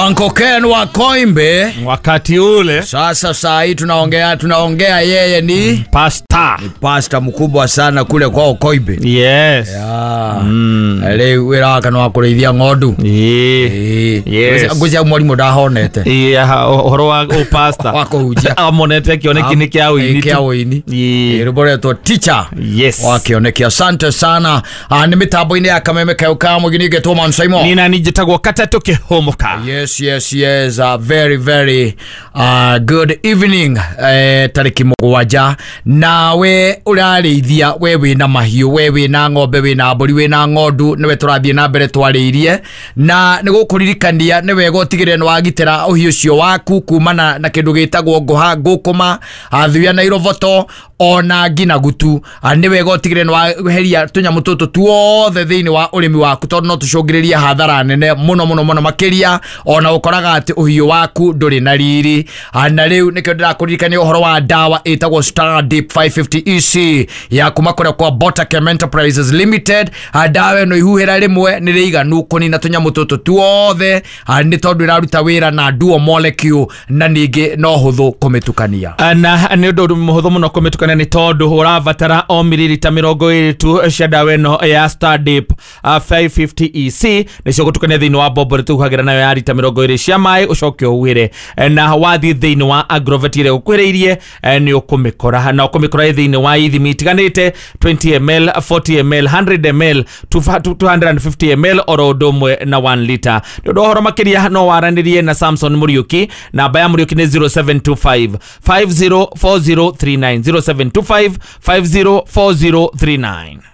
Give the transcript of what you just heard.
Uncle Ken wa Koimbe Wakati ule sasa saa hii tunaongea yeye ni pasta. Pasta mkubwa sana kule kwao Koimbe. Yes. Rĩu wĩra wake nĩ wa kũrĩithia ng'ondu. Ĩĩ. Yes. Ngwĩciria mwarimũ ndahonete. Ĩĩ, ũhoro wa ũpasta Wa kũhunjia. Amonete kĩoneki nĩ kĩa ũini Kĩa tu. ũini. Ĩĩ. Rwĩmbo rwetwo Teacher. Yes. Wa kĩoneki. Asante sana. Nĩ mĩtambo-inĩ ya kameme kayũ ka mũgini ngetwo Man Simon. Nina njĩtagwo Katatũ Kĩhũmũka. Yes. Very, very good evening. Tarĩki 7 nawe ũrarĩithia, we wĩna mahiũ, we wĩna ng'ombe, wĩna mbũri, wĩna ng'ondu, nĩwe tũrathiĩ na mbere twarĩirie, na nĩ gũkũririkania nĩ wega ũtigĩrĩre nĩ wagitĩra ũhiũ ũcio waku kumana na kĩndũ gĩtagwo ngũha, ngũkũma, thuya na iroboto ona ngina gutu. Nĩ wega ũtigĩrĩre nĩ waheria tũnyamũ tũtũ tuothe thĩinĩ wa ũrĩmi waku, tondũ no tũcũngĩrĩrie hathara nene mũno mũno mũno makĩria, ona ũkoraga atĩ ũhiũ waku ndũrĩ na riri. Na rĩu nĩkĩo ndĩrakũririkania ũhoro wa ndawa ĩtagwo Star Deep 550 EC ya kuma kũrĩa kwa Botachem Enterprises Limited. Ndawa ĩno ihuhĩra rĩmwe nĩ rĩiganu kũnina tũnyamũ tũtũ tuothe, nĩ tondũ ĩraruta wĩra na dual molecule na ningĩ no hũthũ kũmĩtukania. Na nĩ ũndũ mũhũthũ mũno kũmĩtukania, nĩ tondũ ũrabatara o mililita 20 tu cia ndawa ĩno ya Star Dip 550 EC, nĩcio gũtukania thĩinĩ wa bombo rĩtũhuhagĩra nayo ya rita 20 cia maĩ, ũcoke ũhuhĩre. Na wathiĩ thĩinĩ wa agrovet ĩrĩa ũkuhĩrĩirie, nĩ ũkũmĩkora, na ũkũmĩkora thĩinĩ wa ithimi itiganĩte: 20 ml, 40 ml, 100 ml, 250 ml, oro ũndũ ũmwe na 1 liter. Nĩ ũndũ wa ũhoro makĩria no waranĩrie na Samson Mũriũki. Namba ya Mũriũki nĩ 0725 504039, 0725 504039.